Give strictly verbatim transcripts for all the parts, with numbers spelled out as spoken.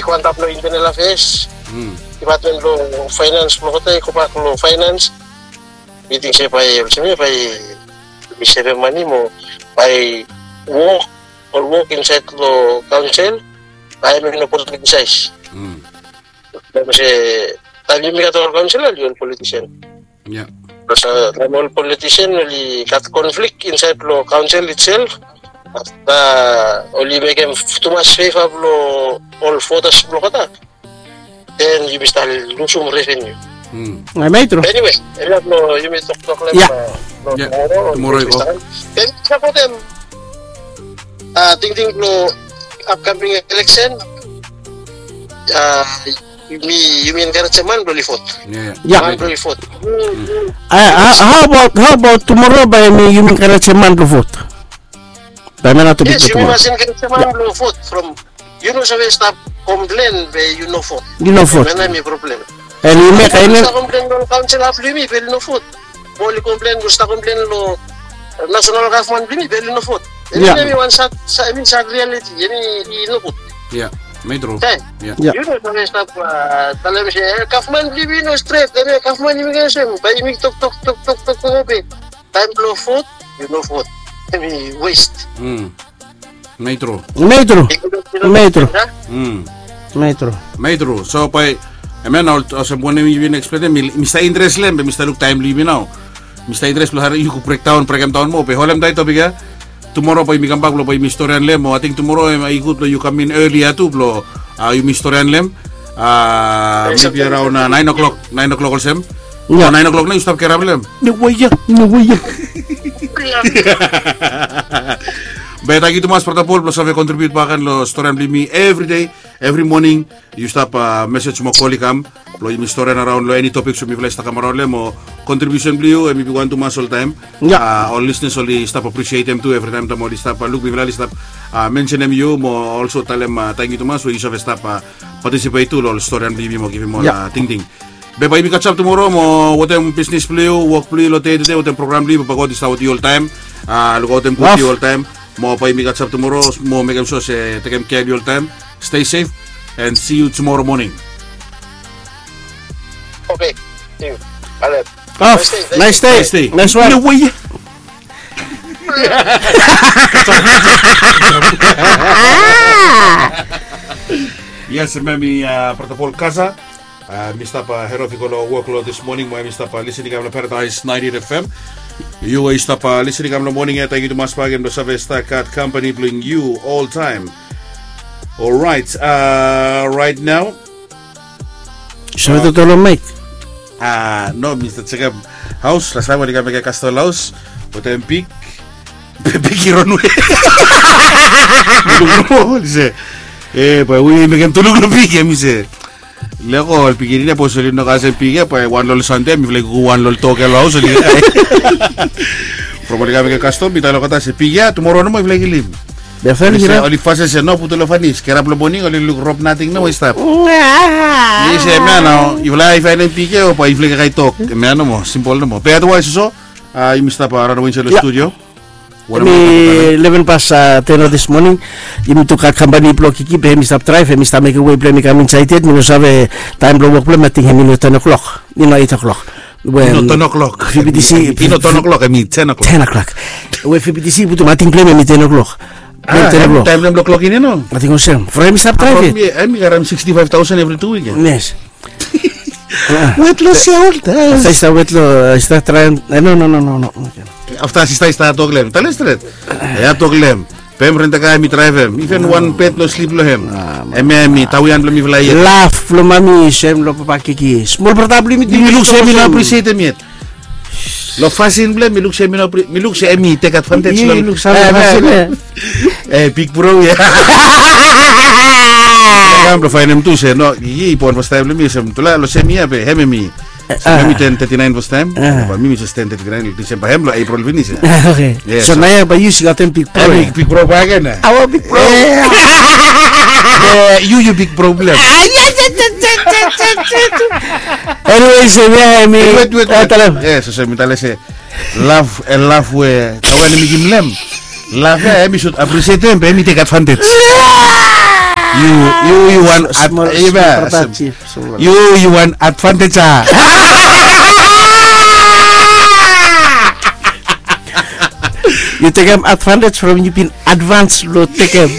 go antap long Internal Affairs, Department long Finance, blong olgeta i gobak long Finance. Mi ting se bae olsem ia bae yumi sevem mane mo bae wok, ol wok insaed long kaonsel bae hemi no politisais. Olsem se taem yumi gat ol kaonsela oli ol politisen. Bikos taem ol politisen oli gat konflik insaed long kaonsel itself, afta oli mekem tumas feva blong ol votas blong olgeta, den yumi stap lusum reveniu. Em ya tru. Eniwe, hemia blong yumi toktok long tumoro i go. Den sapotem tingting blong apkaming eleksen. Yumi enkarejem man blong oli vot. Man blong oli vot. Hao abaot tumoro bae yumi enkarejem man blong vot? Bae hemia nao topik blong tumoro. Yes, yumi mas enkarejem man blong vot from yu no save stap komplen be yu no vot. Yu no vot. Hemia nao hemi problem. Oli mek ainen. Stap komplen long kaonsela blong yumi be oli no vot. Mo oli komplen, oli stap komplen long nasonal gavman blong yumi be oli no vot. Hemia nao hemi wan sad, hemi sad rialiti, hemi i no gud. Ia, hemi tru. Yu no save stap talem se gavman blong yumi i no stret, hemia gavman yumi i olsem, bae yumi toktok toktok toktok be taem blong vot yu no vot. Hemi west. Hemi tru. Hemi tru. Hemi tru. Hemi tru. So bae hemia nao olsem wanem yumi bin eksplenem, mi stap interes long hem be mi stap luk taem blong yumi nao. Mi stap interes blong harem yu go brekdaon, brekemdaon moa be holem dae topik ia. Tumoro bae yumi kambak blong bae yumi storian long hem, o ating tumoro i gud blong yu kam in elia tu blong yumi storian long hem. Mebi araon naen o'clock, naen o'clock olsem. Ia, naen o'clock nao yu stap gerap long hem. No wei ia, no wei ia. Be tangkiu tumas brata Pol blong save kontribiut bak gen long storian blong yumi evri dei, evri moning. Yu stap mesej mo kol i kam blong yumi storian araon long eni topik we mifala i stap kam araon long hem, o kontribiusen blong yu hemi bigwan tumas oltaem. Ol lisnas oli stap aprisietem tu evritaem taem oli stap luk mifala oli stap mensenem yu mo olso talem tangkiu tumas we yu save stap patisipet tu long ol storian blong yumi mo givim ol tingting. Be bae yumi kasem tumoro mo wetem bisnis blong yu, wok blong yu long dei tu dei, wetem program blong yu, Papa God i stap wetem yu oltaem. Lukaotem gud yu oltaem. Mo bae yumi kasem tumoro mo mekem sua se tekem kea blong yu oltaem. Stay safe and see you tomorrow morning. Okay, see you. Bye. Of, nice day. Nice day. Nice one. No wei. Yes, hemia mi brata Pol Kasa. Mi stap head off i go long wok long this morning mo hemi stap listening kam long Paradise ninety-eight F M. Yu we yu stap listening kam long moning ia, tangkiu tumas bakegen blong save stap gat kampani blong yu oltaem. Orait, rait nao. Save toto long maek? A no, mi stap jekem haos. Lastaem oli kam mekem kastom long haos wetem pig. Be pig i ronwe. Mi luk nomo, oli se, e bae we i mekem tuluk long pig ia, mi se. Leko ol pikinini ia, sapos oli no kasem pig ia, bae wan long ol Sande mifala i go wan long ol dog ia long haos oli kakae. From oli kam mekem kastom mi talem olgeta se pig ia tumoro nomo yufala i kilim. Be afta oli fasin se no, putum long fanis, gerap long moning oli luk rop nating nomo i stap. Mi se hemia nao yufala i faenem pig ia o bae yufala i kakae dog. Hemia nomo, simpol nomo. Be otherwise so yumi stap ranawe insaed long studio. Hemi leven pas ten long this morning. Yumi tu gat kampani blong Kiki be hemi stap draev, hemi stap mekem wei blong hemi kam insaed yet. Mi no save taem blong wok blong hem, ating hemi no ten o'clock, i no eight o'clock. I no ten o'clock. Hemi ten o'clock. We V B T C i putum ating blong hem hemi ten o'clock. Taem blong hem long klok ini no? Ating olsem from hemi stap draev yet. Hemi karem sixty-five thousand evri tu wik ia. Yes. Wet long se oltaem. Afta i stap wet long, i stap traem. No, no, no, no, no. Afta sista i stap tok long hem, talem stret. Ia tok long hem. Be hem rent a car, hemi draevem. Iven wan bed no slip long hem. Hemia hemi tawian blong mifala yet. Laf blong mami sem long papa Kiki. Smol brata blong yumi. Yumi luk se hemi no aprisietem yet. Long fasin blong hem mi luk se hemi no apri, mi luk se hemi tek advantage long. Yu luk sam long fasin ia. E big bro ia. Kam blong faenem tu se no, i bon fastaem blong mi olsem tufala long sem yia be hem hemi. Hemi ten thirty-nine fastaem. Bae mi mi jes ten thirty-nine long Disemba, hem long Epril finis ia. Oke. So naoia bae yu gat hem big bro. Big bro bakegen. Our big bro. Yu, yu big problem. Anyways, hemia hemi. Wet, wet, wet. Talem. Yes, so mi talem se laf, e laf we tawian i mekem long hem. Laf ia hemi should appreciatem be hemi tek advantage. Yu yu wan Small, iba small productive, small. Yu yu wan advantage a. Yu tekem advantage from yu bin advance lo tekem.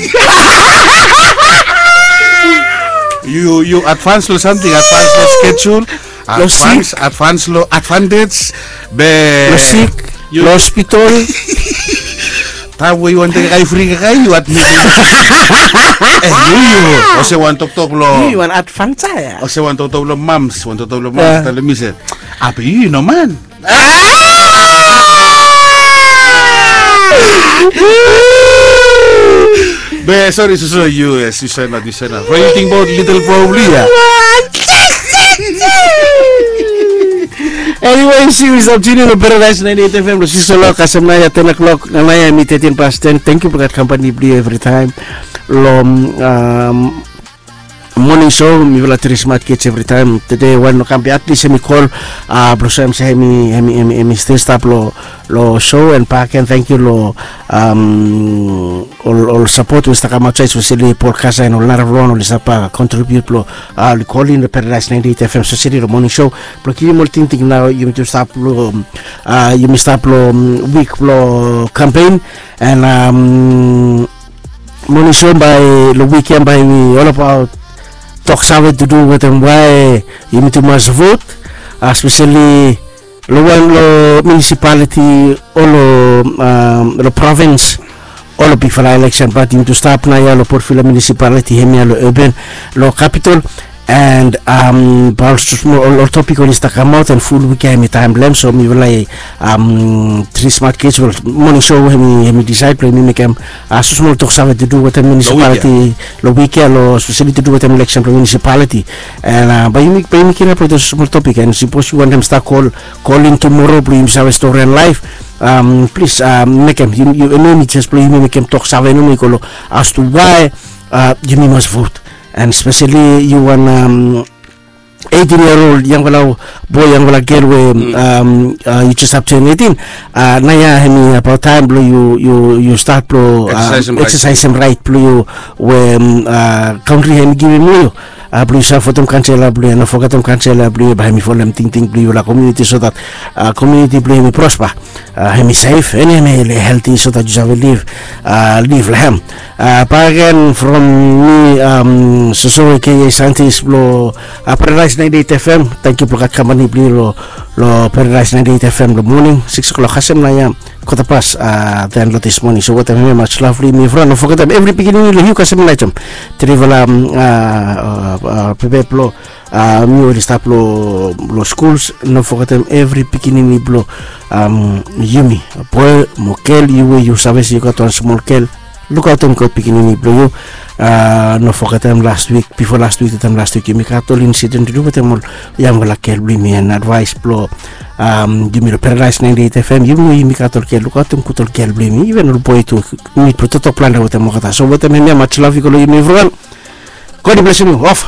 Yu yu advance lo something, advance lo schedule. Lo Advance, advance lo advantage. Be Lo sik, yu lo hospital. Taem we yu wan tekem kai fri kai yu admit. Eh, yu yu. Ose wan toktok lo. Yu wan advance ya. Ose wan toktok lo mams, wan toktok lo Ya. mams. Tale mi se. Ape yu no man. Be sorry, so so yu yes, yu send out, yu send out. What do you think about little problem ya? Anyway, si wi stap tuni lo Paradise ninety-eight F M lo six o'clock kasem naya ten o'clock naya mi thirteen past ten. Thank you for that company blue every time. Lo um, morning show mi vela three smart kids every time. Tede wan no kam be at least hemi call. Uh, blo so hemi hemi hemi hemi still stap lo lo show and back and thank you lo um, ol ol support we stap kam outside, especially Paul Kasa and ol naraflon ol i stap uh, contribute lo uh, ol i call in the Paradise ninety-eight F M, especially lo morning show. Blo givim ol tingting nao yumi tu stap lo um, uh, yumi stap lo um, week lo campaign and um, morning show bae lo week ya bae we all about tok save to do wetem wae yumi tu mas vote, uh, especially lo wan lo municipality o lo um, lo province o lo bigfala election, bat yumi tu stap naya lo Port Vila municipality hemia lo urban lo capital. And um, bae ol smol ol, ol topik oli stap kamaot and ful wik ya hemi taem blem, so mi vela um, three smart kids ol morning show hemi hemi decide blo hemi mekem uh, smol tok save to do wetem municipality lo wik ya lo especially to do wetem election blo municipality. And uh, bae yumi bae yumi kirap lo smol topik and sipos yu wantem stap call call in tomorrow blo yumi save stori and live. Um, plis uh, mekem yu yu yu jes blo yumi mekem tok save nomo i go lo as to wae uh, yumi mas vote. And especially yu wan um, eighteen year old yangfala boy, yangfala gel we um, uh, yu jes stap turn eighteen. Uh, naya hemi about taem blo yu yu yu start blo um, Exercise em right. Exercise em right blo yu we um, uh, country hemi givim lo yu. Uh, blo yu save votem kansela blo yu, no fogetem kansela blo yu bae hemi folem tingting blo yu la community so that uh, community blo yu hemi prosper. Uh, hemi safe and hemi healthy so that yu save live uh, live la hem. Uh, back again from me um, soso aka scientist blo uh, Paradise ninety-eight F M. Thank you blo gat company blo lo lo Paradise ninety-eight F M lo morning six o'clock kasem naya kota pas uh, then lo this morning. So wetem hemia much lovely mi vra, no fogetem every pikinini lo yu kasem naya jom trivela um, uh, uh, uh, pepe blo uh, mi oli stap lo lo schools, no fogetem every pikinini blo um, yumi boy mo gel yu we yu save se yu gat wan smol gel, lukaotem god pikinini blo yu. Uh, no fogetem last week bifo last week taem last week yumi gat ol incident tu wetem ol yangfala gel blo yumi and advice blo um, yumi lo Paradise ninety-eight F M yumi we yumi gat ol gel lukaotem gud ol gel blo yumi even ol boy tu. Yumi blo totok planda wetem olgeta so wetem hemia much love i go lo yumi evriwan. God bless yumi off.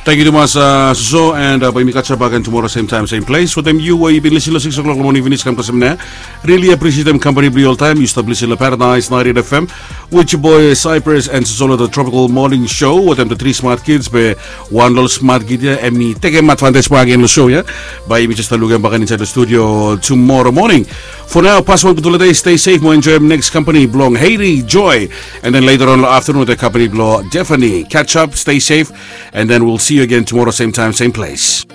Thank you tumas uh, soso and uh, bae yumi catch up again tomorrow same time same place wetem yu we yu bin lisin lo six o'clock lo morning finis kam kasem naya. Really appreciatem company blo yu oltaem. Yu stap lisin lo Paradise ninety-eight F M with your boy Cyprus and soso lo the tropical morning show wetem the three smart kids be wan lo ol smart kid ya hemi tekem advantage bae agen lo show ya. Bae yumi jes stap lukim baken insaed lo studio tomorrow morning. For now, pas wan gud holiday, stay safe mo enjoem next company blong Haiti Joy. And then later on lo afternoon wetem company blo Tiffany. Catch up, stay safe, and then we'll see you again tomorrow same time same place.